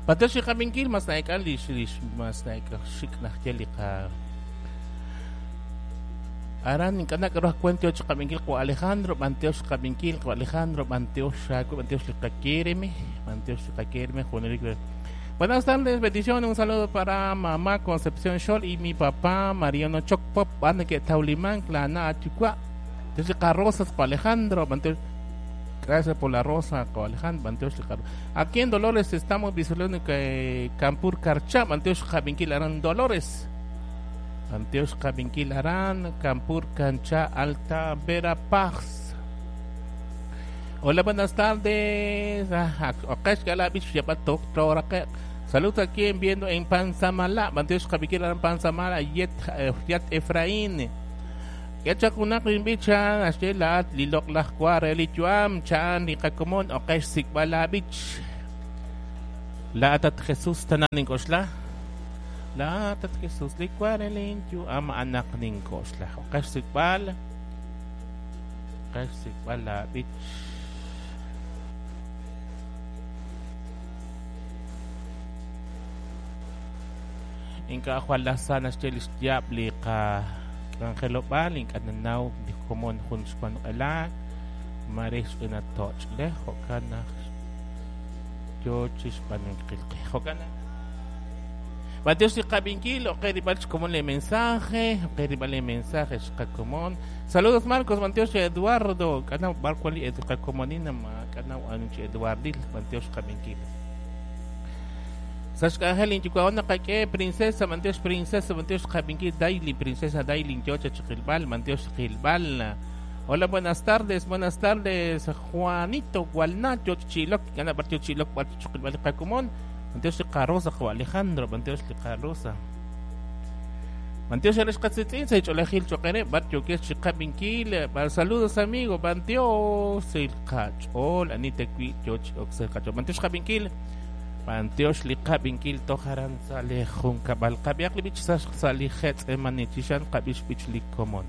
B'antiox li qab'inkil mas na'ek'an lix lix mas na'ek'an xik' najye li qa Aran ink'a' nak'aru ajwen tiox qab'inkil qo Alejandro, b'antiox qab'inkil qo Alejandro, b'antiox xaaku, b'antiox li qakereme, b'antiox li qakereme, junelik. Buenas tardes, bendiciones, un saludo para mamá Concepción Xol y mi papá Mariano Chocpop, van que taulimán, la achukua. Entonces, rosas para Alejandro, gracias por la rosa, Alejandro, Aquí en Dolores estamos visualizando que Campur Carcha, Banteox Javinquil Arán Dolores. Banteox Javinquil Arán, Campur Cancha Alta Verapaz. Hola, buenas tardes. Saludos aquí en viendo en Panzamala, Banteox Javinquil Arán Panzamala, Yet, Yat Efraín. Yachakunak rinbicha, ashela lilok lahkwa relichuam, chan rikakomon, okesh sikbala bich. Laatat Jesus tananing kosla. Laatat Jesus likwarelinchu ama anak ning kosla. Okesh sikbal. Okesh sikbala bich. Inka akhwalasan ashchelis diabli ka Angelobal, inkananaw, di komon hun span ala, maris una toch le, hokana, yo chispan qilqi, hokana. Batios y qabinkil, ok, ribal como le mensaje, ok, ribal le mensaje, comón. Saludos Marcos, Bantios Eduardo, kana barcuali educa comonina, ma kana anunchi Eduardil, Bantios qabinkil. Sashka Angelin, Chihuahua, que princesa, Manteos princesa, Manteos Jabinki, Daily, princesa Daily, Yocha Chiquilbal, Manteos Chiquilbal. Hola, buenas tardes, Juanito, Gualnacho, Chiloc, Gana Partido Chiloc, Chiquilbal, Cacumón, Manteos Carroza, Juan Alejandro, Manteos Carroza. Manteos Eres Catzetín, se Cholejil Choquere, Bartio, que es Chicabinkil, saludos amigo, Manteos, el Cachol, Anita Qui, Yoch, Oxel Cacho, Manteos Jabinkil. Panteox liqabinkil tojaran sale junka balqabiaq libich sali hetz emanichishan qabix bich likomon.